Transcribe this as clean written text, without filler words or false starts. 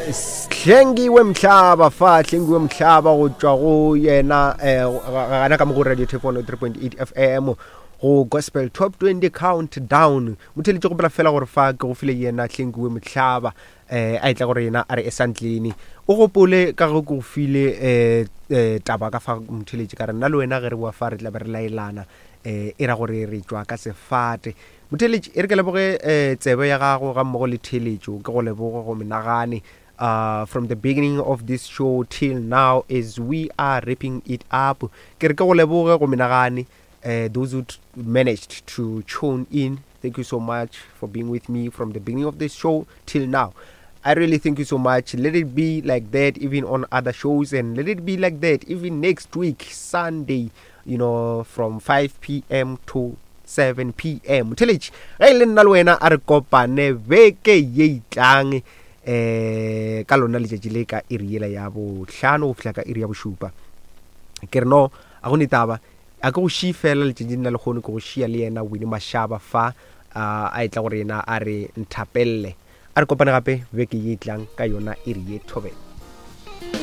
Hlengiwe Mhlaba fa Hlengiwe Mhlaba go tšwa go yena eh, gana ka mo go Radio Tape 103.8 FM go Gospel Top 20 Countdown. Motheletše gopela fela gore fa ke go file yena Hlengiwe Mhlaba eh a etla gore yena a re esantleni o gopole ka go ke go file eh, eh taba ka fa motheletše ka re nna le wena ge re boa fa re tla be re laelana eh e ra gore re tšwa ka sefate. Motheeletši, e re ke leboge eh, tsebe ya gago ga mmogo le theeletšo, ke go leboge go menagane uh, from the beginning of this show till now as we are wrapping it up. Ke re ke go leboge go menagane uh, those who managed to tune in. Thank you so much for being with me from the beginning of this show till now. I really thank you so much. Let it be like that even on other shows, and let it be like that even next week, Sunday, you know, from 5 p.m. to 7 pm. Motheletši, ge e le nna le wena a re kopane beke ye itlang eh ka lona letšatši le ka iri yela ya bohlano go fihla ka iri ya bošupa. Ke re no, a go ne taba, a ke go šii fela letšatšing la lekgono, ke go šia le yena Winnie Mashaba fa a etla go rena a re nthapelle. A re kopane gape beke ye tlang ka yona iri ye thobela.